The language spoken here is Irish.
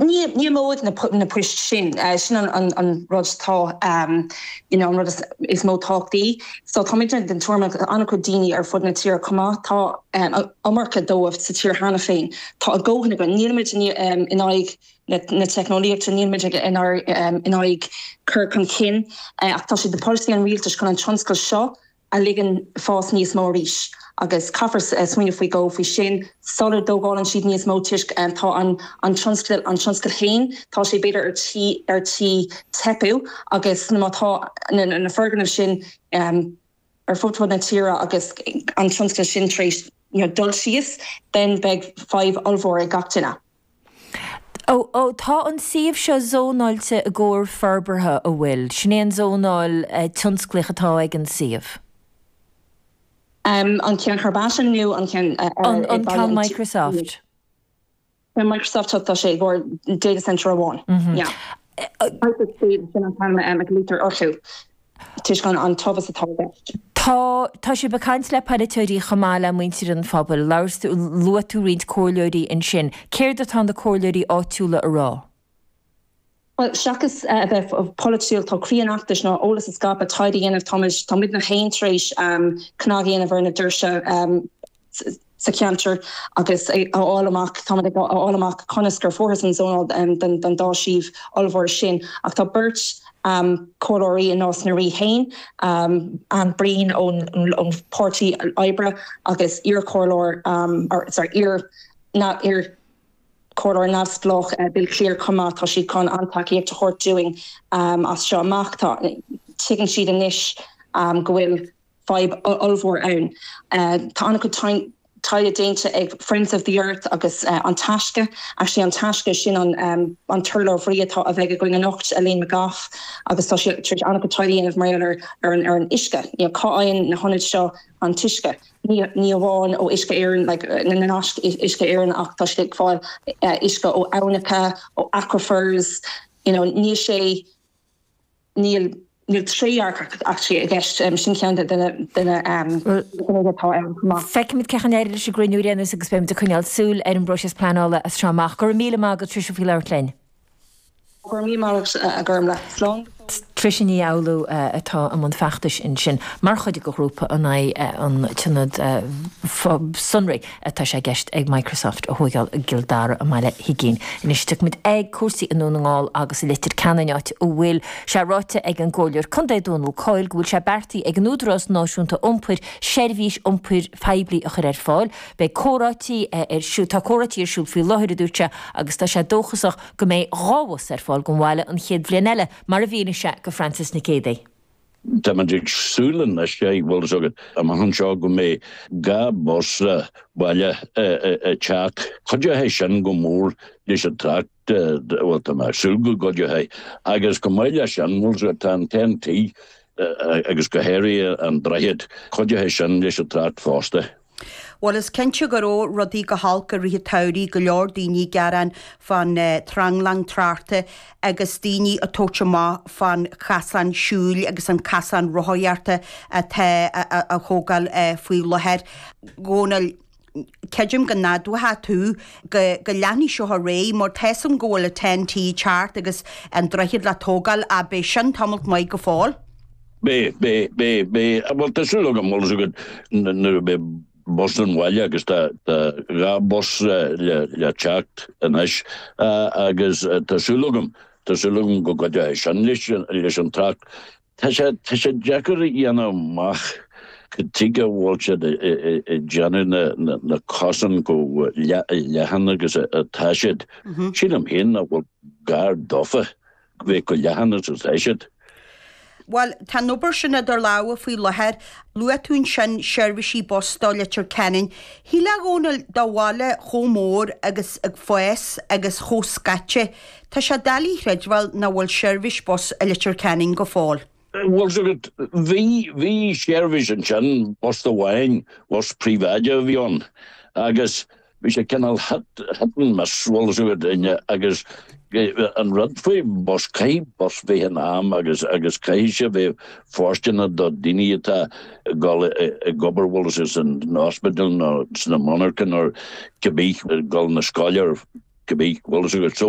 Ní imeoidh na poist sin. Sin an rud atá, you know, an rud is mó tábhachtaí. So táimidne den tuairim agus an-chuid daoine ar fud na tíre chomh maith, tá iomarca dóibh sa tír cheana féin. Tá a ndóthain againn. Nílimid in aghaidh na teicneolaíochta, nílimid in aghaidh cur chun cinn ach tá sé de pholasaí an rialtais chun an tionscal seo a ligean fás níos mó arís agus caithfear smaoineamh faoi dhó faoi sin sula dtógálann siad níos mó toisc tá an an tionscal an tionscal féin tá sé b'fhéidir ar tí ar tí teipeadh agus má tá na na foirgnimh sin ar fud fud na tíre agus an tionscal sin tar éis you know dul síos then beidh fadhb ollmhór ag gach duine. Ó, ó, tá an suíomh seo zónáilte i gcomhair forbartha, an bhfuil? Sin é an zónáil tionsclaíoch atá ag an suíomh. An ceann Herbatin nó an ceann An, an ceann Microsoft. Ceann Microsoft, tá sé i gcomhair data centre amháin. Yeah. Hyperscale, sin an t-ainm a ghlaoitear orthu. toisc an tomhas atá i gceist. Tá, tá sibh ag caint le polaiteoirí chomh maith le muintir an phobail. Labhair tú, luaigh tú roinnt comhairleoirí ansin. Céard atá na comhairleoirí áitiúla a rá? Bhuel, seachas a bheith polaitiúil, tá croí an fheachtais ná eolas a scaipeadh, taighde a dhéanamh. Táimid, tá muidne féin tar éis cnag a dhéanamh ar na doirse sa cheantar agus a fháil amach, táimid ag fháil amach conas gur fuarthas an zónáil don dá shuíomh ollmhór sin. Ach tá beirt comhairleoirí i Nás na Rí féin, Anne Breen ón Páirtí Oibre agus iar-chomhairleoir, sorry, iar, iar Comhairleoir neamhspleách Bill Cleere chomh maith, tá siad chun an-tacaíocht a thabhairt dúinn as seo amach. Tá, tuigeann siad anois go bhfuil. fadhb ollmhór ann. Tá an-chuid taighde déanta ag Friends of the Earth agus An Taisce, actually An Taisce, sin an an t-urlabhraí atá a bheidh againn anocht, Elaine McGoff, agus tá sí tar éis an-chuid taighde a dhéanamh mar gheall ar ar an ar an uisce, you know cá fhaigheann na hionaid seo an t-uisce? Ní ní amháin ó Uisce Éireann, like na naisc Uisce Éireann ach tá siad ag fáil uisce ó aibhneacha, ó aquifers, you know níl sé Níl níl trédhearcacht actually i gceist. Sin ceann de na de na gnéithe atá ann chomh maith. Feicfimid cén chaoi a n-éireoidh leis an gcruinniú ar aon nós agus beimid ag coinneáil súil ar an bpróiseas pleanála as seo amach. Go raibh míle maith agat Tricia faoi labhairt linn. Go raibh míle maith agat a Ghormfhlaith. Slán go fóill. Tricia Ní Fhoghlú atá i mbun feachtais ansin mar chuid de ghrúpa in aghaidh an t-ionad sonraí. atá sé i gceist ag Microsoft a thóigeáil i gCill Dara i mBaile Huigín. Anois tiocfaimid ag cúrsaí i nDún na nGall agus i Leitir Ceanainn áit a bhfuil sé ráite ag an gComhairleoir Contae Dónal Coyle go bhfuil sé beartaithe ag an Údarás Náisiúnta Iompair seirbhís iompair phoiblí a chur ar fáil. Beidh comhráití ar siúl, tá comhráití ar siúl faoi láthair a dúirt sé agus tá sé dóchasach go mbeidh 2 bhus ar fáil don bhaile an chéad bhliain eile mar a mhínigh sé go Francis Nic Géadaigh. Táimid ag súil anois, bhfuil fhios agat, amach anseo go mbeidh 2 bus baile ag teacht. Cuideoidh sin go mór leis an trácht, bhuel tá mé ag súil go gcuideoidh. Agus chomh maith leis sin, bhfuil fhios agat, tá an Ten-T agus go háirithe an droichead, cuideoidh sin leis an trácht fosta. Bhuel, is cinnte go raibh rudaí go holc i rith an tsamhraidh, go leor daoine ag gearán fán tranglam tráchta agus daoine ag tabhairt amach fán chasán siúil agus an casán rothaíochta atá á thógáil faoi láthair. Dhónaill, creidim go n-admhóidh tú go go leanfaidh seo ar aghaidh mar tá 'fhios a'm go bhfuil an Ten-T ag teacht agus an droichead le tógáil ach beidh sin tamalt maith go fóill. Beidh, beidh, beidh, beidh, bhuel tá súil agam, bhfuil fhios agat, nuair a bheidh bus an bhaile agus tá, tá 2 bus le, le teacht anois agus tá súil agam, tá súil agam go gcuideoidh sin leis, leis an trácht. Tá sé, tá sé deacair a dhéanamh amach cad tuige a bhfuil siad ag déanamh na, na, na cosáin chomh leathan agus atá siad. Sílim féin nach bhfuil gar dófa. bheith chomh leathan is atá siad. Bhuel, tá an obair sin idir lámha faoi láthair. Luaigh tú ansin seirbhísí bus do Leitir Ceanainn. Shílfeá a Dhónaill do bhaile chomh mór agus ag fás agus chomh scaite, tá sé doiligh a chreidbheáil nach bhfuil seirbhís bus i Leitir Ceanainn go fóill. Bhfuil 's agat, bhí, bhí seirbhís ansin, bus amháin, bus príobháideach a bhí ann agus Bhí sé cineál hit and miss, bhfuil 's agat, agus an rud faoi bus, caithfidh bus bheith in am agus agus caithfidh sé bheith fóirsteanach do daoine atá ag dul ag obair, bhfuil 's agat, san ospidéal nó sna monarcha nó cibé, ag dul na scoile or cibé, bhfuil 's agat. So.